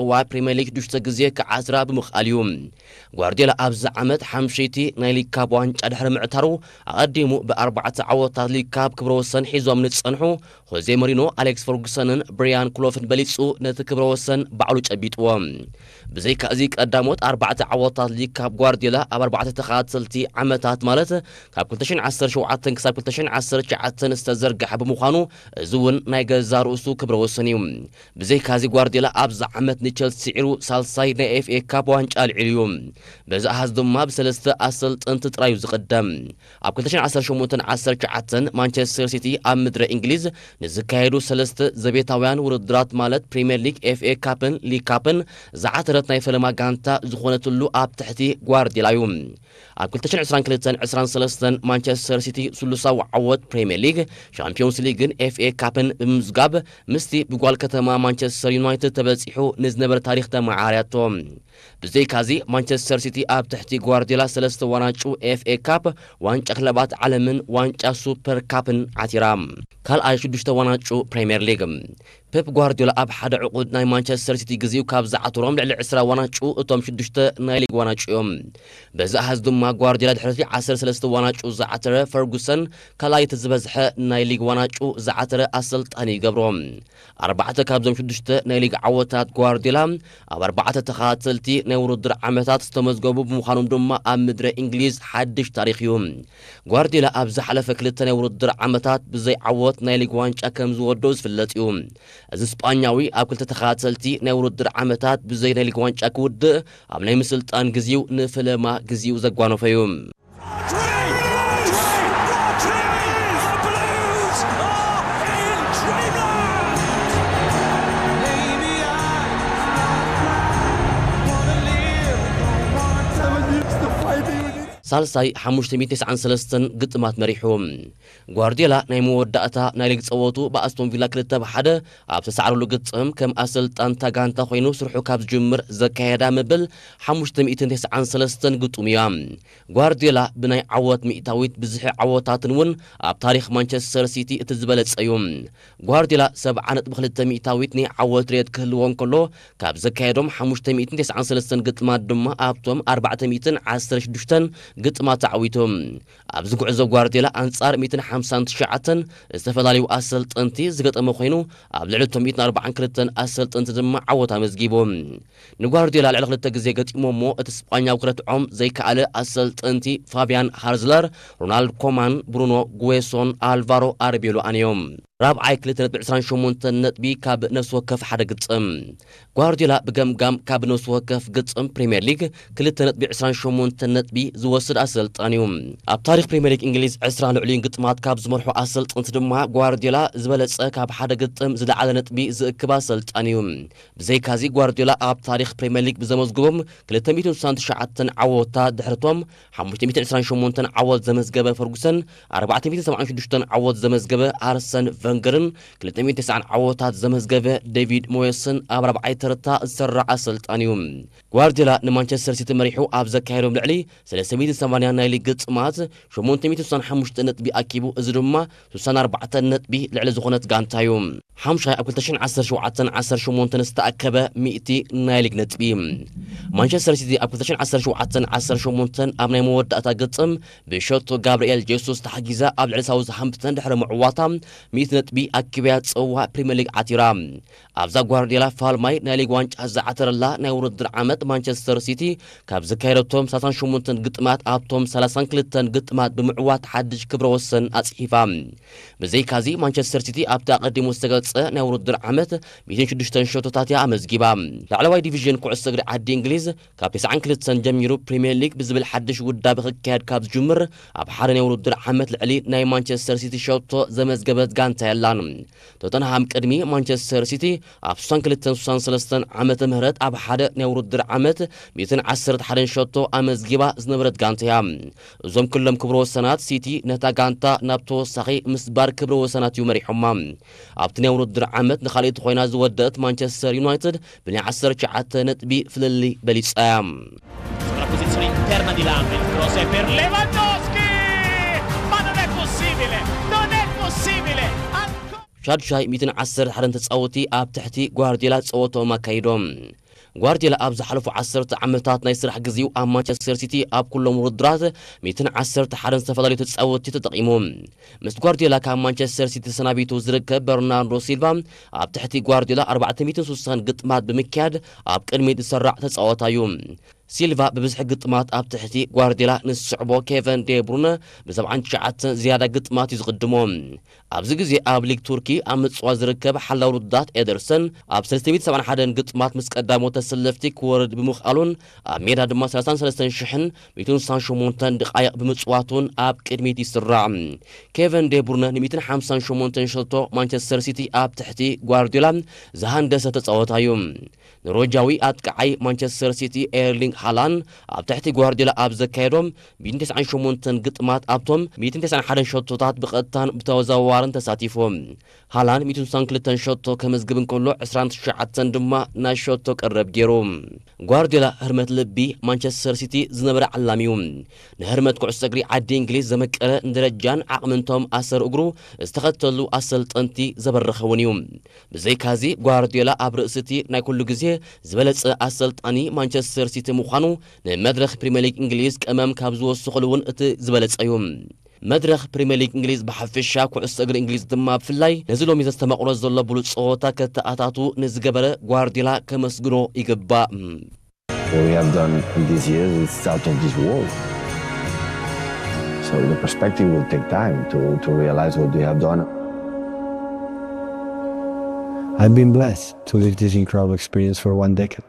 እዋ ፕሪምየር ሊግ ሽዱሽተ ግዜ ክዓትራ ብምኽኣል እዩ። ጓርዲዮላ ኣብዚ ዓመት ሓምሸይቲ ናይ ሊግ ካፕ ዋንጫ ድሕሪ ምዕታሩ፣ ኣቐዲሙ ብኣርባዕተ ዓወታት ሊግ ካፕ ክብረ ወሰን ሒዞም ንጸንሑ ሆዜ ሞሪኖ፣ ኣሌክስ ፈርጉሰንን ብሪያን ክሎፍን በሊጹ ነቲ ክብረ ወሰን ባዕሉ ጨቢጥዎ። ብዘይካ እዚ ቀዳሞት ኣርባዕተ ዓወታት ሊግ ካፕ ጓርዲዮላ ኣብ ኣርባዕተ ተኸታተልቲ ዓመታት ማለት ካብ ክልተ ሽሕን ዓሰርተ ሸውዓተን ክሳብ ክልተ ሽሕን ዓሰርተ ትሽዓተን ዝተዘርግሐ ብምዃኑ፣ እዚ እውን ናይ ገዛ ርእሱ ክብረ ወሰን እዩ። ብዘይካዚ ጓርዲዮላ ኣብዚ ዓመት ንቸልሲ ስዒሩ ሳልሳይ ናይ ኤፍኤ ካፕ ዋንጫ ኣልዒሉ እዩ። በዚ ኣሃዝ ድማ ብሰለስተ ኣሰልጠንቲ ጥራዩ ዝቕደም። ኣብ ክልተ ሽሕን ዓሰርተ ሸሞንተን ዓሰርተ ትሽዓተን ማንቸስተር ሲቲ ኣብ ምድረ እንግሊዝ ንዝካየዱ ሰለስተ ዘቤታውያን ውድድራት ማለት ፕሪምየር ሊግ፣ ኤፍኤ ካፕን ሊግ ካፕን ዝዓተረት ናይ ፈለማ ጋንታ ዝኾነትሉ ኣብ ትሕቲ ጓርዲዮላ እዩ። ኣብ ክልተ ሽሕን ዕስራን ክልተን ዕስራን ሰለስተን ማንቸስተር ሲቲ ስሉሳዊ ዓወት ፕሪምየር ሊግ፣ ሻምፒዮንስ ሊግን ኤፍኤ ካፕን ብምምዝጋብ ምስቲ ብጓል ከተማ ማንቸስተር ዩናይትድ ተበጺሑ ንዝነበረ ታሪኽ ተመዓራርያቶ። ብዘይካዚ ማንቸስተር ሲቲ ኣብ ትሕቲ ጓርዲዮላ ሰለስተ ዋንጫ ኤፍኤ ካፕ፣ ዋንጫ ክለባት ዓለምን ዋንጫ ሱፐር ካፕን ዓቲራ። ካልኣይ ሽዱሽተ ዋንጫ ፕሪምየር ሊግ። ፔፕ ጓርዲዮላ ኣብ ሓደ ዕቑድ ናይ ማንቸስተር ሲቲ ግዜኡ ካብ ዝዓተሮም ልዕሊ ዕስራ ዋንጫ እቶም ሽዱሽተ ናይ ሊግ ዋንጫ እዮም። በዚ ኣሃዝ ድማ ጓርዲዮላ ድሕሪ ዓሰርተ ሰለስተ ዋንጫ ዝዓተረ ፈርጉሰን ካልኣይ እቲ ዝበዝሐ ናይ ሊግ ዋንጫ ዝዓተረ ኣሰልጣኒ ይገብሮ። ኣርባዕተ ካብዞም ሽዱሽተ ናይ ሊግ ዓወታት ጓርዲዮላ ኣብ ኣርባዕተ ተኸታተልቲ ናይ ውድድር ዓመታት ዝተመዝገቡ ብምዃኖም ድማ ኣብ ምድረ እንግሊዝ ሓድሽ ታሪኽ እዩ። ጓርዲዮላ ኣብ ዝሓለፈ ክልተ ናይ ውድድር ዓመታት ብዘይ ዓወት ናይ ሊግ ዋንጫ ከም ዝወደኦ ዝፍለጥ እዩ። እዚ ስጳኛዊ ኣብ ክልተ ተኸታተልቲ ናይ ውድድር ዓመታት ብዘይ ናይ ሊግ ዋንጫ ክውድእ ኣብ ናይ ምስልጣን ግዜኡ ንፈለማ ግዜኡ ዘጓነፈ እዩ። ሳልሳይ ሓሙሽተ ሚእትን ተስዓን ሰለስተን ግጥማት መሪሑ። ጓርዲዮላ ናይ መወዳእታ ናይ ሊግ ጸወቱ ብኣስቶን ቪላ ክልተ ብ ሓደ ኣብ ተሳዕረሉ ግጥም ከም ኣሰልጣን እታ ጋንታ ኮይኑ ስርሑ ካብ ዝጅምር ዘካየዳ መበል ሓሙሽተ ሚእትን ተስዓን ሰለስተን ግጥም እያ። ጓርዲዮላ ብናይ ዓወት ሚእታዊት ብዝሒ ዓወታትን እውን ኣብ ታሪኽ ማንቸስተር ሲቲ እቲ ዝበለጸ እዩ። ጓርዲዮላ ሰብዓ ነጥቢ ክልተ ሚእታዊት ናይ ዓወት ሬት ክህልዎ እንከሎ፣ ካብ ዘካየዶም ሓሙሽተ ሚእትን ተስዓን ሰለስተን ግጥማት ድማ ኣብቶም ኣርባዕተ ሚእትን ዓሰርተ ሽዱሽተን ግጥማት ተዓዊቱ። ኣብዚ ጉዕዞ ጓርዲዮላ ኣንጻር ሚእትን ሓምሳን ትሽዓተን ዝተፈላለዩ ኣሰልጠንቲ ዝገጠመ ኮይኑ፣ ኣብ ልዕሊ እቶም ሚእትን ኣርባዓን ክልተን ኣሰልጠንቲ ድማ ዓወት ኣመዝጊቡ። ንጓርዲዮላ ልዕሊ ክልተ ግዜ ገጢሞሞ እቲ ስጳኛዊ ክረትዖም ዘይከኣለ ኣሰልጠንቲ ፋብያን ሃርዝለር፣ ሮናልድ ኮማን፣ ብሩኖ ጉዌሶን ኣልቫሮ ኣርቤሎኣን እዮም። ራብዓይ ክልተ ነጥቢ ዕስራን ሸሞንተን ነጥቢ ካብ ነፍሲ ወከፍ ሓደ ግጥም። ጓርዲዮላ ብገምጋም ካብ ነፍሲ ወከፍ ግጥም ፕሪምየር ሊግ ክልተ ነጥቢ ዕስራን ሸሞንተን ነጥቢ ዝወስድ ኣሰልጣኒ እዩ። ኣብ ታሪኽ ፕሪምየር ሊግ እንግሊዝ ዕስራ ልዕሊኡን ግጥማት ካብ ዝመርሑ ኣሰልጠንቲ ድማ ጓርዲዮላ ዝበለጸ ካብ ሓደ ግጥም ዝለዓለ ነጥቢ ዝእክብ ኣሰልጣኒ እዩ። ብዘይካዚ ጓርዲዮላ ኣብ ታሪኽ ፕሪምየር ሊግ ብዘመዝግቦም ክልተ ሚእትን ስሳን ትሽዓተን ዓወታት ድሕርቶም ሓሙሽተ ሚእትን ዕስራን ሸሞንተን ዓወት ዘመዝገበ ፈርጉሰን፣ ኣርባዕተ ሚእትን ሰብዓን ሽዱሽተን ዓወት ዘመዝገበ ኣርሰን ቨንገርን ክልተ ሚእትን ተስዓን ዓወታት ዘመዝገበ ዴቪድ ሞየስን ኣብ ራብዓይ ተርታ ዝሰራዕ ኣሰልጣኒ እዩ። ጓርዲዮላ ንማንቸስተር ሲቲ መሪሑ ኣብ ዘካየዶም ልዕሊ ሰለስተ ሚእትን ሰማንያን ናይ ሊግ ግጥማት ሸሞንተ ሚእትን ስሳን ሓሙሽተ ነጥቢ ኣኪቡ፣ እዚ ድማ ስሳን ኣርባዕተን ነጥቢ ልዕሊ ዝኾነት ጋንታ እዩ። ሓምሻይ ኣብ ክልተ ሽሕን ዓሰርተ ሸውዓተን ዓሰርተ ሸሞንተን ዝተኣከበ ሚእቲ ናይ ሊግ ነጥቢ። ማንቸስተር ሲቲ ኣብ ክልተ ሽሕን ዓሰርተ ሸውዓተን ዓሰርተ ሸሞንተን ኣብ ናይ መወዳእታ ግጥም ብሸቶ ጋብርኤል ጄሱስ ተሓጊዛ ኣብ ልዕሊ ሳውዝሃምፕተን ድሕሪ ምዕዋታ ሚእቲ ነጥቢ ኣኪብያ ጽዋ ፕሪምየር ሊግ ዓቲራ። ኣብዛ ጓርዲዮላ ፋልማይ ናይ ሊግ ዋንጫ ዝዓተረላ ናይ ውድድር ዓመት ማንቸስተር ሲቲ ካብ ዘካየደቶም ሰላሳን ሸሞንተን ግጥማት ኣብቶም ሰላሳን ክልተን ግጥማት ብምዕዋት ሓድሽ ክብረ ወሰን ኣጽሒፋ። ብዘይካዚ ማንቸስተር ሲቲ ኣብቲ ኣቐዲሙ ዝተገልጸ ናይ ውድድር ዓመት ሚእትን ሽዱሽተን ሸቶታት እያ ኣመዝጊባ። ላዕለዋይ ዲቪዥን ኩዕሶ እግሪ ዓዲ እንግሊዝ ካብ ተስዓን ክልተን ጀሚሩ ፕሪምየር ሊግ ብዝብል ሓድሽ ውዳበ ክካየድ ካብ ዝጅምር ኣብ ሓደ ናይ ውድድር ዓመት ልዕሊ ናይ ማንቸስተር ሲቲ ሸቶ ዘመዝገበት ጋንታ የላን። ቶተንሃም ቅድሚ ማንቸስተር ሲቲ ኣብ ስሳን ክልተን ስሳን ሰለስተን ዓመተ ምህረት ኣብ ሓደ ናይ ውድድር ዓመት ሚእትን ዓሰርተ ሓደን ሸቶ ኣመዝጊባ ዝነበረት ጋንታ እያ። እዞም ክሎም ክብረ ወሰናት ሲቲ ነታ ጋንታ ናብ ተወሳኺ ምስባር ክብረ ወሰናት እዩ መሪሖማ። ኣብቲ ናይ ውድድር ዓመት ንኻልኣይቲ ኮይና ዝወደአት ማንቸስተር ዩናይትድ ብናይ ዓሰርተ ትሽዓተ ነጥቢ ፍልልይ በሊጻ እያ። Sulla posizione interna di Lam, il cross è per Lewandowski! Ma non è possibile! Non è possibile! Ancora ሻድሻይ ሚእትን ዓሰርተ ሓደን ተጻወቲ ኣብ ትሕቲ ጓርዲዮላ ጸወቶም ኣካይዶም። ጓርዲዮላ ኣብ ዝሓለፉ ዓሰርተ ዓመታት ናይ ስራሕ ግዜኡ ኣብ ማንቸስተር ሲቲ ኣብ ኩሎም ውድድራት ሚእትን ዓሰርተ ሓደን ዝተፈላለዩ ተጻወትቲ ተጠቒሙ። ምስ ጓርዲዮላ ካብ ማንቸስተር ሲቲ ተሰናቢቱ ዝርከብ በርናርዶ ሲልቫ ኣብ ትሕቲ ጓርዲዮላ ኣርባዕተ ሚእትን ስሳን ግጥማት ብምክያድ ኣብ ቅድሚት ዝሰራዕ ተጻዋታይ እዩ። ሲልቫ ብብዝሒ ግጥማት ኣብ ትሕቲ ጓርዲዮላ ንዝስዕቦ ኬቨን ዴ ብሩነ ብ ሰብዓን ትሽዓተን ዝያዳ ግጥማት እዩ ዝቕድሞ። ኣብዚ ግዜ ኣብ ሊግ ቱርኪ ኣብ ምጽዋት ዝርከብ ሓላው ውድድራት ኤደርሰን ኣብ ሰለስተ ሚእትን ሰብዓን ሓደን ግጥማት ምስ ቀዳሞት ተሰለፍቲ ክወርድ ብምኽኣሉን ኣብ ሜዳ ድማ ሰላሳን ሰለስተን ሽሕን ሚእትን ስሳን ሸሞንተን ድቓይቕ ብምጽዋቱን ኣብ ቅድሚት ይስራዕ። ኬቨን ዴ ብሩነ ን ሚእትን ሓምሳን ሸሞንተን ሸቶ ማንቸስተር ሲቲ ኣብ ትሕቲ ጓርዲዮላ ዝሃንደሰ ተጻወታ እዩ። ኖርወጃዊ ኣጥቃዓይ ማንቸስተር ሲቲ ኤርሊንግ ሃላን ኣብ ትሕቲ ጓርዲዮላ ኣብ ዘካየዶም ሚእትን ተስዓን ሸሞንተን ግጥማት ኣብቶም ሚእትን ተስዓን ሓደን ሸቶታት ብቐጥታን ብተዘዋዋርን ተሳቲፉ። ሃላን ሚእትን ስሳን ክልተን ሸቶ ከመዝግብ እንከሎ ዕስራን ትሽዓተን ድማ ናይ ሸቶ ቀረብ ገይሩ። ጓርዲዮላ ህርመት ልቢ ማንቸስተር ሲቲ ዝነበረ ዓላሚ እዩ። ንህርመት ኩዕሶ እግሪ ዓዲ እንግሊዝ ዘመቀረ ንደረጃን ዓቕምንቶም ኣሰር እግሩ ዝተኸተሉ ኣሰልጠንቲ ዘበረኸ እውን እዩ። ብዘይካዚ ጓርዲዮላ ኣብ ርእሲ እቲ ናይ ኩሉ ግዜ ዝበለጸ ኣሰልጣኒ ማንቸስተር ሲቲ ምዃኑ ንመድረኽ ፕሪምየር ሊግ እንግሊዝ ቀመም ካብ ዝወስኹሉ እውን እቲ ዝበለጸ እዩ። መድረኽ ፕሪምየር ሊግ እንግሊዝ ብሓፈሻ ኩዕሶ እግሪ እንግሊዝ ድማ ብፍላይ ነዚ ሎሚ ዘስተማቕሮ ዘሎ ብሉጽ ጸወታ ከተኣታቱ ንዝገበረ ጓርዲዮላ ከመስግኖ ይግባእ። What we have done in these years is out of this world. So the perspective will take time to, to realize what we have done. I've been blessed to live this incredible experience for one decade.